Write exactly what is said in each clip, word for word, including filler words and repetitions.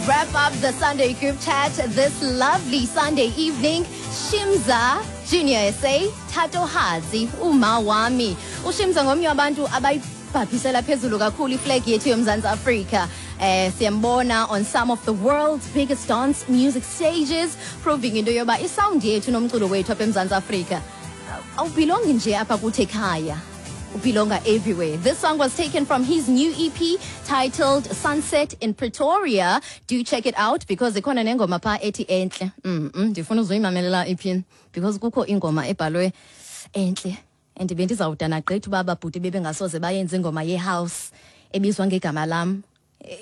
wrap up the Sunday group chat this lovely Sunday evening. Shimza Junior S A, Thatohatsi, Umawami. UShimza ngomnye wabantu abayibhabhisela phezulu kakhulu iflag yethu yoMzantsi Afrika. Eh, siyambona on some of the world's biggest dance music stages, proving into yoba isound yethu nomculo wethu apha eMzantsi Afrika awubelongi nje apha kuthi ekhaya, ubelonga everywhere. This song was taken from his new E P titled Sunset in Pretoria. Do check it out because ikhona nengoma pha ethi enhle. Mm -mm, ndifuna uzoyimamelela E P because kukho ingoma ebhalwe enhle. And bendizawudana gqitha uba ababhuti bebengasoze bayenze ingoma ye-house ebizwa ngegama lam.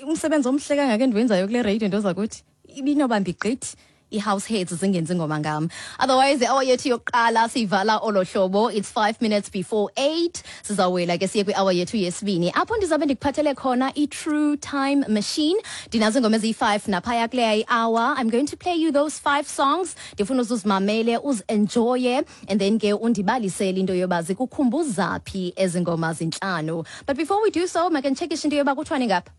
Umsebenzi omhle kangaka endiwenzayo kule radio nto zakuthi ibinobambi gqithi i-house heads zingenzi ingoma ngam. Otherwise, i-hour yethu yokuqala siyivala olo hlobo. It's five minutes before eight. Sizawela ke siye kwi-hour yethu yesibini. Apho ndizabe ndikuphathele khona i-True Time Machine. Ndinazo ingoma eziyi-five naphaya kuleya i-hour. I'm going to play you those five songs. Ndifuna uzuzimamele, uzi-enjoye, and then ke undibalisele into yoba zikukhumbuza phi ezi ngoma zintlanu. But before we do so, make nditshekishe into yoba kuthiwani ngapha.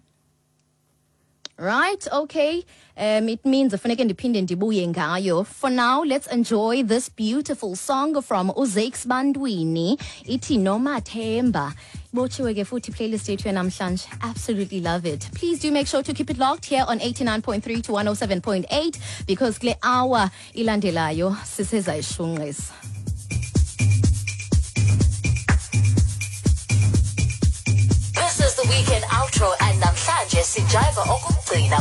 Right, okay. Um, it means funeke ndiphinde ndibuye ngayo. For now, let's enjoy this beautiful song from uZakes Bantwini. Ithi Nomathemba. Botshiwe ke futhi playlist yethu yanamhlanje. Absolutely love it. Please do make sure to keep it locked here on eighty-nine point three to one oh seven point eight because kule hour ilandelayo sisezayishunqisa. This is the weekend outro and namhlanje sijiva okugcina.